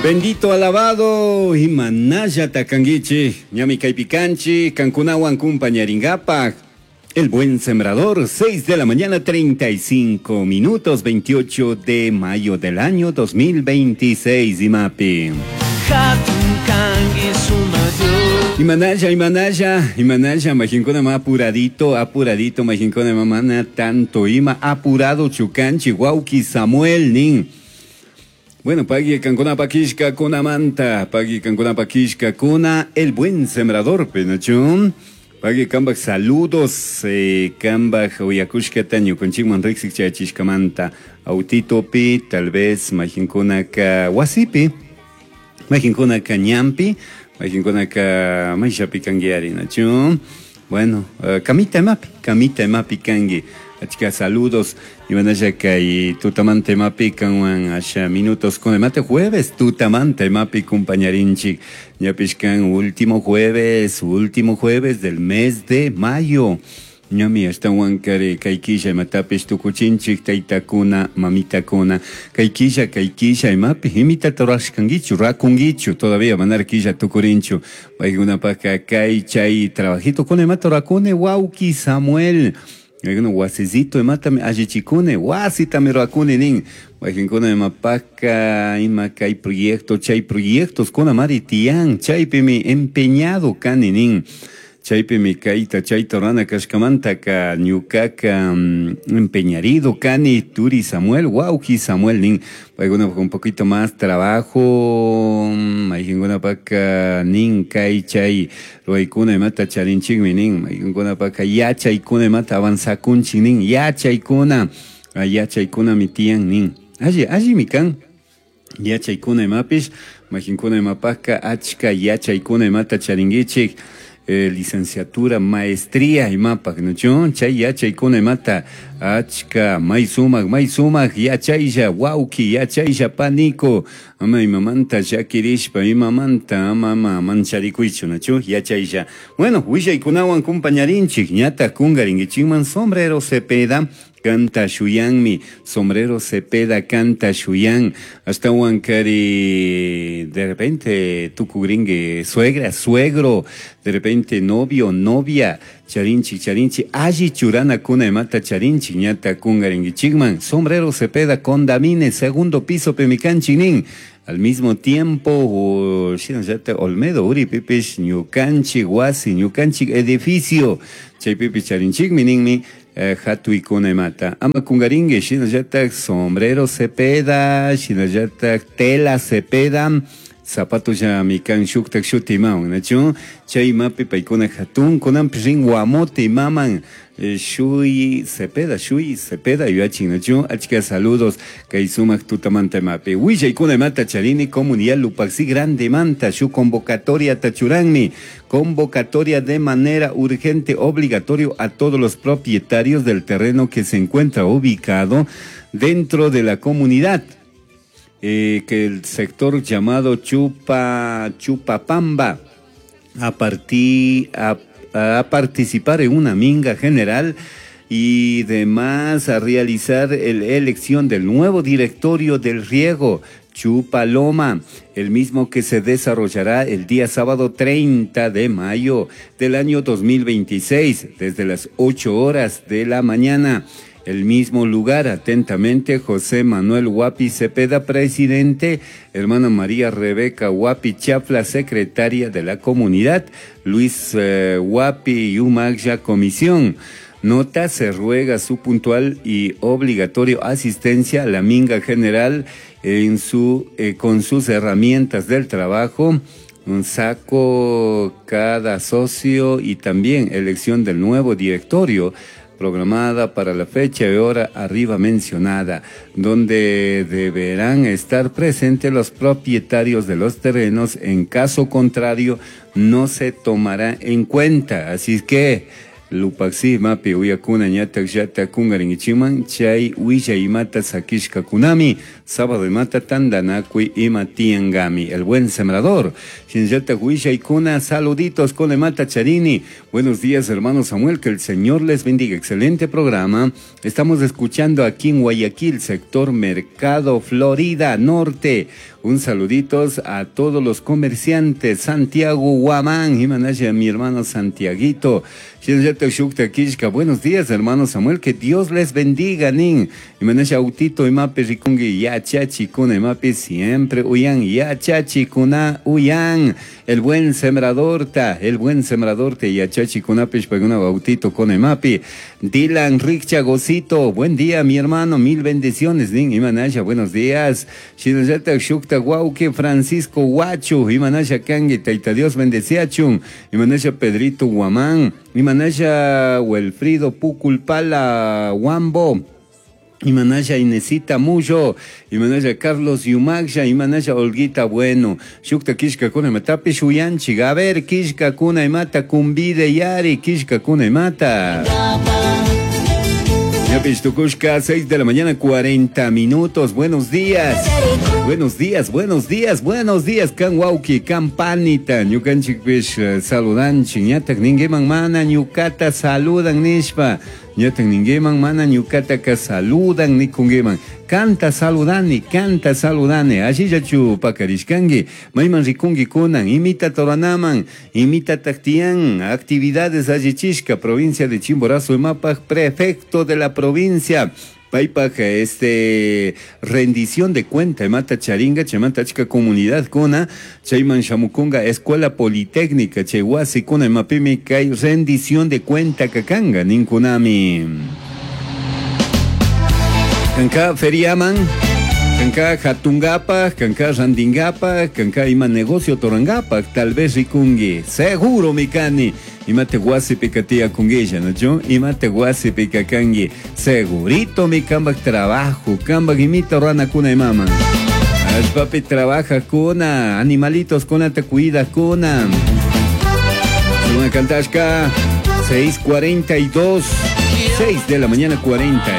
Bendito alabado imanallata kankichik ñami kaypi kanchik kankunawan kumpañarinkapak. El Buen Sembrador, 6 de la mañana, 35 minutos, 28 de mayo del año 2026, Imapi. Imanalla, imanalla, imanalla, majinkuna ma apuradito, apuradito, majinkuna mamana tanto ima apurado chukanchi, wauki Samuel nin. Bueno, pagui kankuna pakishka kuna manta, pagui kankuna pakishka kuna, el buen sembrador, penachun. Pagui kambak saludos, kambak uyakushkata ñukanchikman riksik chayachishkamanta. Autitopi, tal vez majinkunaka wasipi, majinkunaka ñampi, majinkunaka mayshapi kanki nachu. Bueno, kamita imapi, kamita imapi kanki. Achka saludos. Imanalla kay tutamanta imapi kanwan asha minutos con mate jueves tutamanta imapi compañarinchik. Ñapish kan último jueves del mes de mayo. Ñami ashtawan kari kay killa imatapish tukuchinchik taytakuna mamitakuna kay killa imapi imitata rurashkankichu rakunkichu todavía manara killa tukurinchu paykunapaka kay chay trabajito kuna imata rurakuni wawki Samuel. Wasicito imatami allichikuni wasitami rurakuni nin wakinkuna imapaka ima kay proyecto chay proyectos kuna mari tiyan chaypimi empeñado kani nin chaypimi kayta chayta rurana kashkamantaka ñukaka empeñarido kani turi Samuel wawki Samuel nin paykunapaka un poquito más trabajo mayqinkunapaka nin kay chay ruraykuna imata charinchikmi nin mayqinkunapaka yachaykuna imata avanzakunchik nin yachaykuna yachaykunami tiyan nin alli allimi kan yachaykuna imapish mayqinkuna imapaka achka yachaykuna imata charinkichik. Licenciatura, maestría imapak, ¿no? Chay yachaykuna imata achka may sumak yachaylla wawki yachaylla paniko ama imamanta llakirishpa imamanta ama mancharikuychu, ¿no? Yachaylla. Bueno, willaykunawan kumpañarinchik ñata kunkarinkichikman Sombrero Cepeda canta shuyanmi, Sombrero Cepeda canta shuyan, hasta kari de repente tukugringue suegra, suegro, de repente novio, novia, charinchi, charinchi, alli churana kuna imata charinchi, ñata kungaringuichikman, Sombrero Cepeda condamine, segundo piso pemikanchi nin. Al mismo tiempo, Olmedo, Uri, Pipish, ñukanchik wasi, ñukanchik edificio, chaypipish charinchikmi ninmi, hatuykuna imata. Ama kungaringue, shinallatak Sombrero Cepeda, shinallatak Tela Cepeda, zapato llami kan shuktak shuti imawan, nachu? Chay imapi paykuna hatun, kunanpi rin Guamote imaman, Shuy Cepeda, Shuy Cepeda, yuyachin, nachu? Achka saludos, kay sumak tutamanta imapi. Willaykuna imata charini, comunidad Lupaxi Grande manta, shu convocatoria tachuranmi, convocatoria de manera urgente, obligatorio a todos los propietarios del terreno que se encuentra ubicado dentro de la comunidad. Que el sector llamado Chupapamba a participar en una minga general y demás a realizar la elección del nuevo directorio del riego Chupaloma, el mismo que se desarrollará el día sábado 30 de mayo del año 2026, desde las 8 horas de la mañana. El mismo lugar, atentamente, José Manuel Huapi Cepeda, presidente, hermana María Rebeca Huapi Chafla, secretaria de la comunidad, Luis Huapi Yumagya, comisión. Nota, se ruega su puntual y obligatorio asistencia a la minga general en con sus herramientas del trabajo, un saco cada socio y también elección del nuevo directorio programada para la fecha y hora arriba mencionada, donde deberán estar presentes los propietarios de los terrenos. En caso contrario, no se tomará en cuenta. Así que Lupaxi mapi uyakuna ñatak llata kungarinkichikman chay willay imata sakishkakunami sábado imata tandanakuy ima tiyankami. El buen sembrador. Shinallatak willaykuna saluditos con imata charini. Buenos días, hermano Samuel, que el Señor les bendiga. Excelente programa. Estamos escuchando aquí en Guayaquil, sector Mercado Florida Norte. Un saluditos a todos los comerciantes. Santiago Guamán, Imanaya, mi hermano Santiaguito. Buenos días, hermano Samuel, que Dios les bendiga, nin. Imanaya autito, imapi rikungi, yachachi kuna, imapi siempre uyan, yachachi kuna uyan. El buen sembrador ta, el buen sembrador te yachachi kunapish paguna autito con imapi. Dylan Richa Gosito, buen día, mi hermano, mil bendiciones, nin. Imanaya, buenos días. Shinallata Shukta Guauque, Francisco Huacho, Imanaya Kangi, Taita Dios bendeciachun, Imanaya Pedrito Guamán, Imanaya Wilfrido Puculpala Huambo, Imanaya Inesita Muyo, Imanaya Carlos Yumagsha, Imanaya Olguita Bueno, Shukta Kishka Kuna Imatapi Shuyanchi, a ver, Kishka Kuna Imata, Kumbide Yari, Kishka Kuna Imata. Tukushka, 6 de la mañana, 40 minutos. Buenos días. Buenos días, buenos días, buenos días. Kan wauki, kan panita, ñukanchikpish saludanchik, ñatak ninguiman mana ñukata saludan nishpa. Ñatak ninguiman mana ñukataka saludan nikunguiman. Canta saludani, canta saludani. Ashillachu pakarishkanki. Mayman rikunki kunan, imita toranaman, imita taktian, actividades allichishka, provincia de Chimborazo, Imapaj, prefecto de la provincia. Paypaj, rendición de cuenta, imata charinga, chamata chica comunidad kuna, chayman shamukunga, escuela politécnica, chay wasi kuna, imapimi kay rendición de cuenta kakanga, ninkunami. Kanka feriaman, kanka hatungapa, kanka randingapa, kanka ima negocio torangapa, tal vez rikungi, seguro mikani. Imate wasi pikatia kunguilla, ¿no? Yo, imate wasi pikakangi, segurito mi kambak trabajo, kambak imita rana kuna y mama. Papi trabaja kuna, animalitos kuna te cuida kuna. Una cantashka, 6:42, 6 de la mañana 40.